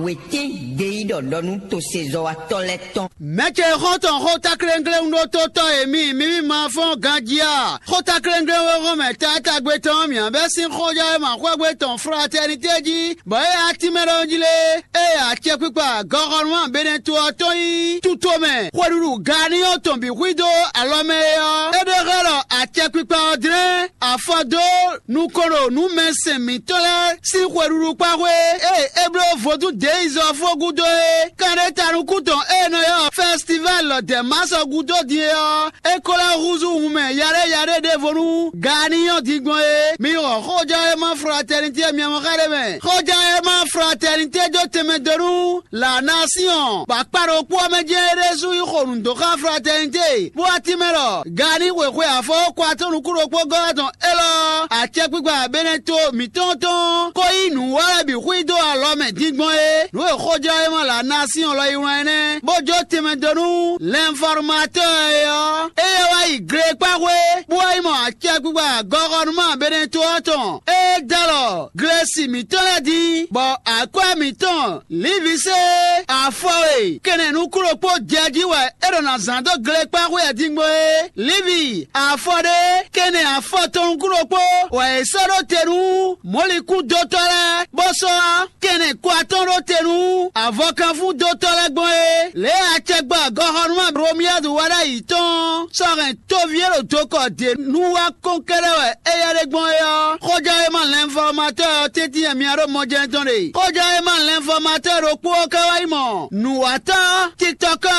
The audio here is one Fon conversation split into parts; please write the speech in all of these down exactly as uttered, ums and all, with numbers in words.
Wětín gbeyíɖɔ ɖɔ nú tosezɔ́watɔ́ lɛ́ɛ tɔn. Mɛ̌ ce xɔ́ntɔn xótákléŋkléŋ ɖó tótɔ́ e mi mǐmí ma fɔ́n ganjí a? Xótákléŋkléŋ wé hɔn mɛ taatagbe tɔn mǐ bɛ́ sín xɔjɔ́ e ma xwɛ́gbe tɔn fratɛnitɛ́ jí, bɔ é atínmɛ ɖɔhun jí lé, ée acɛkpikpa gɔxɔnúmá Benɛto ɔ́ tɔn nyí tutomɛ xweɖuɖu ganíyɔ́ tɔn bǐ xwídó alɔ mɛ é ɔ́, é ɖe xlɛ́ ɖɔ acɛkpikpa ɔ́ dlɛ́n afɔ dó nukɔn ɖo nǔ mɛ sɛn mǐtɔn lɛ́ɛ sín xweɖuɖu kpáxwé e é bló vodún deizɔ́fó gúdo é. Kanɖétanukún tɔn e è nɔ ylɔ́ fɛstivali lɔ dɛ̌masɔ gúdo din é ɔ́, é ko lɛ́ húzú wunmɛ yaɖé yaɖé ɖěvo nú gaaniyɔ́ din gbɔn é. Mi xɔ xójɔ́ e ma fratɛnitɛ́ miamɔxá ɖé mɛ. Xójɔ́ e ma fratɛnitɛ́ dó tɛnmɛ dó nú la nation, bɔ akpa ɖokpó ɔ́ mɛ jɛ́n é ɖésú yi xo nǔ dó xá fratɛnité, bó wá tínmɛ ɖɔ gani xwexwe afɔ kɔ atɔ́ nukún ɖokpó gɔ́ tɔn élɔ́, acɛkpikpa Benɛto mǐtɔn tɔn ko yí nǔ wa lɛ́ɛ bǐ xwí dó alɔ mɛ din gbɔn é. Nǔ e xójɔ́ e ma la nation lɔ yi wlán énɛ́, bó jó tɛnmɛ dó nú l'informateur é ɔ́, éyɛ́ wá yi glekpáxwé, bó wá yi mɔ acɛkpikpa gɔxɔnúmá Benɛto ɔ́ tɔn. É dó alɔ Glesi mǐtɔn lɛ́ɛ din, bɔ akwɛ́ mǐtɔn Livisée afɔ e kɛnɛ nukúnɖokpó jɛ jí wɛ é ɖo nǎ zán dó glekpáxwé ɛ din gbɔn é. Livi afɔ ɖé kɛnɛ afɔ tɔn nukúnɖokpó wɛ è sɔ́ ɖó te nú mɔ̌likúndótɔ́ lɛ́ɛ, bó sɔ́ kɛnɛ ko atɔ́ɔ́n ɖó te nú avɔkanfúndótɔ́ lɛ́ɛ gbɔn é. Lě e acɛgbɛ gɔxɔnúmá Romiyadu wa ɖ'ayǐ tɔn sɔ́ hɛn toví e ɖo dokɔ ɖě nu wá kɔn kɛ́ɖɛ́ wɛ éyɛ́ ɖe gbɔn é ɔ́, xójɔ́ e ma lɛnfɔmatɔ́ ɔ́ tɛ́ntin wɛ mi ɖo mɔjɛ́n tɔn ɖe. Xójɔ́ e ma lɛnfɔmatɔ́ ɖokpó ɔ́ ka wá yi mɔ nǔwatɔ́ tikitɔkɔ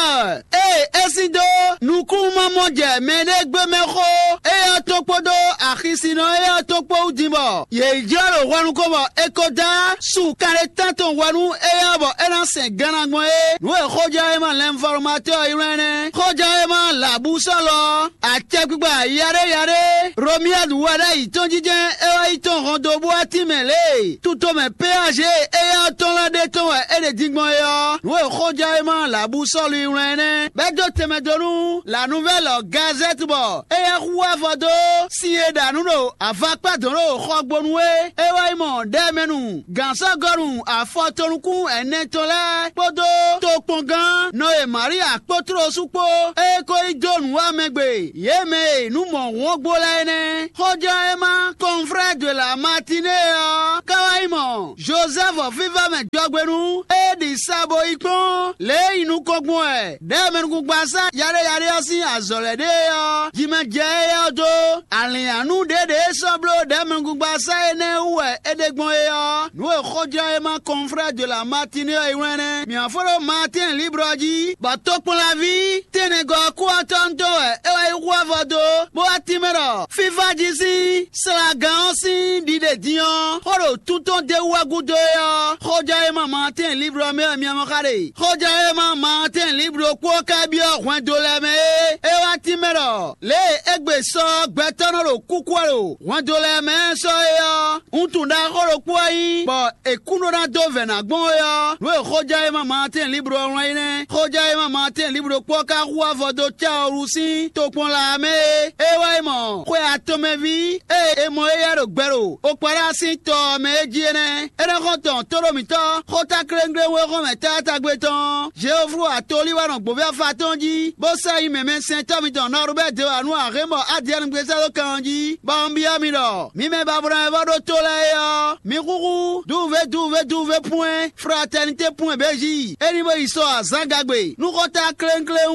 ée é sin dó nukúnmamɔjɛ mɛɖé gbé mɛ xó éyɛ́ ɔ́ tɔn kpódó axisinɔ éyɛ́ ɔ́ tɔn kpó wú din bɔ yě yi jlɔ́ ɖo hwɛ nukɔn bɔ è ko dó su kanɖétán tɔn hwɛ nú éyɛ́ ɔ́ bɔ é ná sɛn ganna gbɔn é. Nǔ e xójɛ́wéma lɛnfɔmatɔ́ ɔ́ ylɔ́ ɛnɛ́. Xójɛ́wéma lǎbúsɔ́lɔ ɔ́, acɛkpikpa yaɖé yaɖé Romiyadu wɛ ɖ'ayǐ tɔn jínjɛ́n é wá yi tɔn hɔn dó bú atínmɛ lě e tutomɛ péaze e éyɛ́ ɔ́ tɔn lɛ́ɛ ɖe tɔn wɛ é ɖe din gbɔn é ɔ́. Nǔ e xójɛ́wéma lǎbúsɔ́lɔ ylɔ́ ɛnɛ́, bɛ́ dó tɛnmɛ dó nú La Nouvelle Gazette bɔ éyɛ́ hu avɔ dó sin e ɖa nǔ ɖo avakpá dɔn ɖo xɔgbonu é. É wá yi mɔ ɖɛmɛnu gǎnsɔ́gɔnu afɔtɔnukún ɛnɛ tɔn lɛ́ɛ kpódó tokpɔngán Nɔye Maria kpó tlósu kpó, é ko yi dó nǔ wá mɛ gbe yě mɛ e nǔ mɔ̌hun ɔ́ gbo lɛ́ɛ é nɛ́. Xójɔ́ e ma confrère de la matinée ɔ́ ka wá yi mɔ Jozɛ́fu fífá mɛ jɔgbenu é ɖi sa bo yi kpɔ́n lě e yi nukɔn gbɔn wɛ ɖɛmɛnukugbasá yaɖé yaɖé ɔ́ sín azɔ̌ lɛ́ɛ ɖe é ɔ́, jimɛ jɛ éyɛ́ ɔ́ dó. Alǐnnyánú ɖěɖě e sɔ́ bló ɖɛ̌mɛgúngbasá énɛ́ wú wɛ é ɖe gbɔn é ɔ́, nǔ e xójlɔ́ e ma confrère de la matinée ɔ́ yi wlɛ́n nɛ́. Mǐ wá fó ɖó Maatɛ́n libre ɔ́ jí, bɔ tokpɔnlaví tɛnɛgɔ́ kúwatɔ́ntɔn wɛ é wá yi hu avɔ dó, bó wá tínmɛ ɖɔ fífá jí sín slagán ɔ́ sín ɖiɖe din ɔ́, xó ɖo tún tɔn d'é wú wɛ gúdo é ɔ́, xójlɔ́ e ma Maatɛ́n libre ɔ́ mɛ wɛ mi mɔ xá ɖe. Xójlɔ́ e ma Maatɛ́n libre ɖokpó ɔ́ ka byɔ́ hwɛndo lɛ́ɛ mɛ é, é wá tínmɛ ɖɔ lě e égbé sɔ gbɛtɔ́ nɔ ɖo kúkú wɛ ɖo hwɛndo lɛ́ɛ mɛ sɔ é ɔ́, wuntun ɖaxó ɖokpó wɛ nyí, bɔ è kún ɖó ná dó vɛ̌ ná gbɔn é ɔ́, nǔ e xójɛ́wéma Maatɛ́n Libro ɔ́ wlán é nɛ́. Xójɛ́wéma Maatɛ́n Libro kpó ɔ́ ka hu avɔ dó Cawlu sín tokpɔn laa mɛ é. É wá yi mɔ xwe atɔnmɛví e è mɔ éyɛ́ ɖo gbɛ ɖo Okpɔɖá sín tɔ ɔ́ mɛ é jí é nɛ́. É nɔ́ xɔ́n tɔn tóɖómítɔ́ xótákléŋglé wéxɔ́mɛ tátágbe tɔn Jeoflu atolíwanɔ gbǒvɛ́ afa tɔn jí, bó sɔ́ yi mɛmɛsɛntɔ́ mitɔn Nɔrubɛ́ de wǎ nú ahɛ̌nbɔ Adiyanu gbé sɛ́ dó kan ɔ́ jí, bɔ un byɔ́ mi ɖɔ: mi mɛ babɔnɔ e vɔ ɖó tó lɛ́ɛ é ɔ́, mi xúxú dúvúvé dúvúvé dúvúvé pwɛ́n fratɛnité pwɛ́n bějí, é ní bó yi sɔ azǎngagbe nú xɔ́ta klénkléwún.